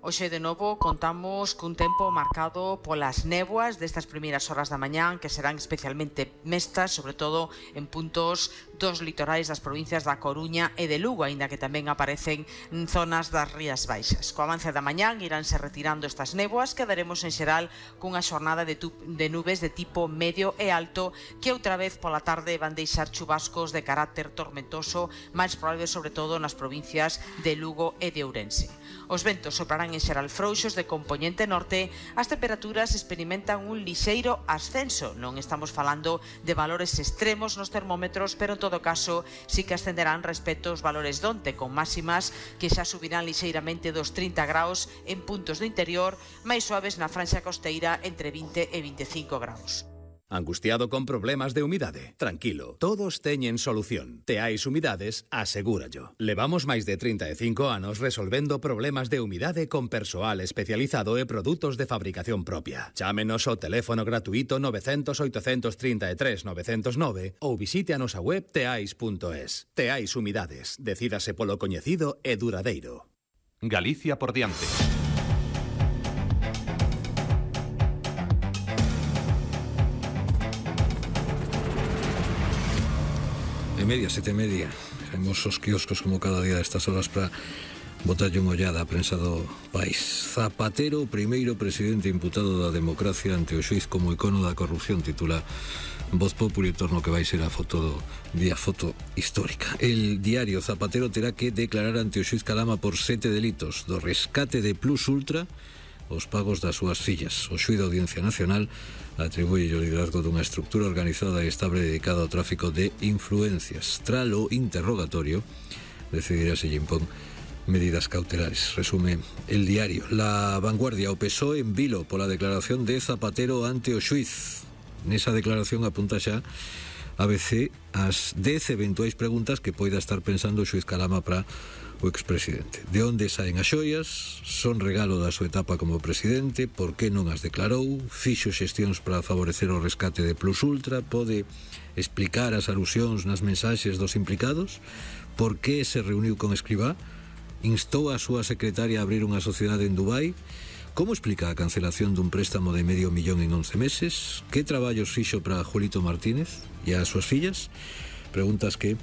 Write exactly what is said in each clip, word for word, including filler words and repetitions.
Hoxe de novo contamos cun tempo marcado polas néboas destas primeiras horas da mañán que serán especialmente mestas, sobre todo en puntos dos litorais das provincias da Coruña e de Lugo, aínda que tamén aparecen en zonas das Rías Baixas. Co avance da mañán iránse retirando estas néboas, quedaremos en xeral cunha xornada de, de nubes de tipo medio e alto que outra vez pola tarde van deixar chubascos de carácter tormentoso, máis probables sobre todo nas provincias de Lugo e de Ourense. Os ventos soprarán en xeral frouxos de compoñente norte, as temperaturas experimentan un lixeiro ascenso. Non estamos falando de valores extremos nos termómetros, pero en todo caso sí que ascenderán respecto aos valores donte, con máximas que xa subirán lixeiramente dos trinta graus en puntos do interior, máis suaves na franxa costeira entre vinte e veinticinco graus. Angustiado con problemas de humidade? Tranquilo, todos teñen solución. Teais Humidades asegúrallo. Levamos máis de trinta e cinco anos resolvendo problemas de humidade con persoal especializado e produtos de fabricación propia. Chámenos ao teléfono gratuito nove cero cero, oito tres tres, nove cero nove ou visite a nosa web teais punto es. Teais Humidades. Decídase polo coñecido e duradeiro. Galicia por diante. Media, sete media. Vemos os quioscos como cada día destas horas para botarlle unha ollada a prensa do país. Zapatero, primeiro presidente imputado da democracia ante o xuiz como icono da corrupción, titula Voz Populi, torno que vai ser a foto do día, foto histórica. El diario: Zapatero terá que declarar ante o xuiz Calama por sete delitos, do rescate de Plus Ultra os pagos das súas fillas. O xuiz da Audiencia Nacional atribuye o liderazgo dunha estructura organizada e estable dedicada ao tráfico de influencias. Tras o interrogatorio, decidirá se lle impón medidas cautelares. Resume el diario. La Vanguardia: o P S O E en vilo pola declaración de Zapatero ante o xuiz. Nesa declaración apunta xa A B C as dez eventuais preguntas que poida estar pensando o xuiz Calama para o expresidente. De onde saen as xoias? Son regalo da súa etapa como presidente? Por que non as declarou? Fixo xestións para favorecer o rescate de Plus Ultra? Pode explicar as alusións nas mensaxes dos implicados? Por que se reuniu con Escribá? Instou a súa secretaria a abrir unha sociedade en Dubai? Como explica a cancelación dun préstamo de medio millón en once meses? Que traballos fixo para Julito Martínez e as súas fillas? Preguntas que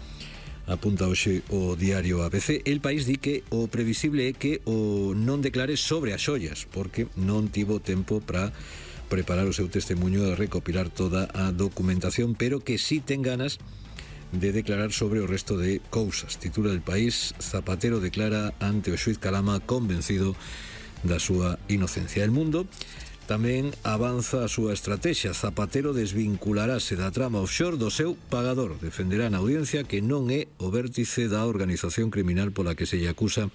apunta hoxe o diario A B C. El País di que o previsible é que o non declare sobre as xollas, porque non tivo tempo para preparar o seu testemunho e recopilar toda a documentación, pero que sí ten ganas de declarar sobre o resto de cousas. Titula El País: Zapatero declara ante o xuiz Calama convencido da súa inocencia. El Mundo tamén avanza a súa estrategia. Zapatero desvincularase da trama offshore do seu pagador. Defenderá na audiencia que non é o vértice da organización criminal pola que se lle acusa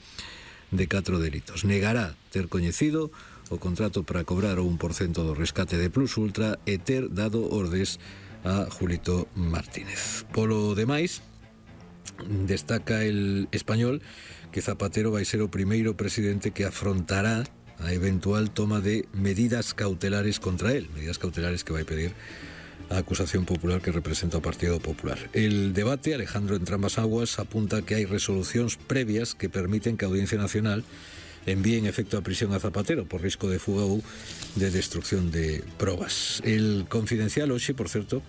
de catro delitos. Negará ter coñecido o contrato para cobrar o un por cento do rescate de Plus Ultra e ter dado ordes a Julito Martínez. Polo demais, destaca El Español que Zapatero vai ser o primeiro presidente que afrontará a eventual toma de medidas cautelares contra él, medidas cautelares que vai pedir a acusación popular que representa o Partido Popular. El Debate, Alejandro Entrambas Aguas, apunta que hai resolucións previas que permiten que a Audiencia Nacional envíe en efecto a prisión a Zapatero por risco de fuga ou de destrucción de probas. El Confidencial hoxe, por certo,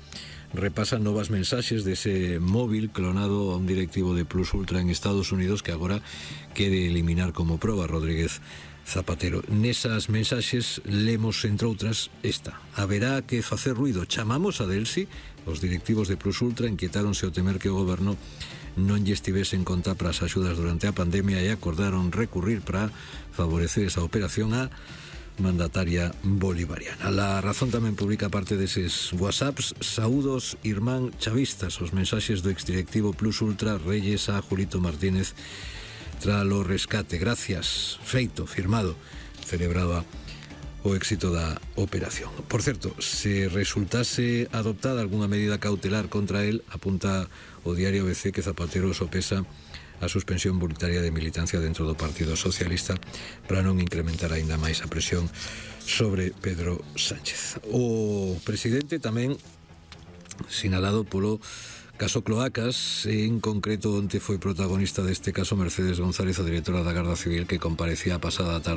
repasa novas mensaxes dese móvil clonado a un directivo de Plus Ultra en Estados Unidos que agora quere eliminar como proba Rodríguez Zapatero. Nesas mensaxes lemos, entre outras, esta: haberá que facer ruido. Chamamos a Delsi. Os directivos de Plus Ultra inquietáronse ao temer que o goberno non lle estivese en conta para as axudas durante a pandemia e acordaron recurrir para favorecer esa operación a mandataria bolivariana. La Razón tamén publica parte deses whatsapps: saúdos, irmán chavistas. Os mensaxes do exdirectivo Plus Ultra Reyes a Julito Martínez tralo rescate. Gracias, feito, firmado. Celebraba o éxito da operación. Por certo, se resultase adoptada algunha medida cautelar contra él, apunta o diario A B C que Zapatero sopesa a suspensión voluntaria de militancia dentro do Partido Socialista para non incrementar aínda máis a presión sobre Pedro Sánchez. O presidente tamén sinalado polo caso Cloacas, en concreto onte foi protagonista deste caso Mercedes González, a directora da Garda Civil, que comparecía a pasada tarde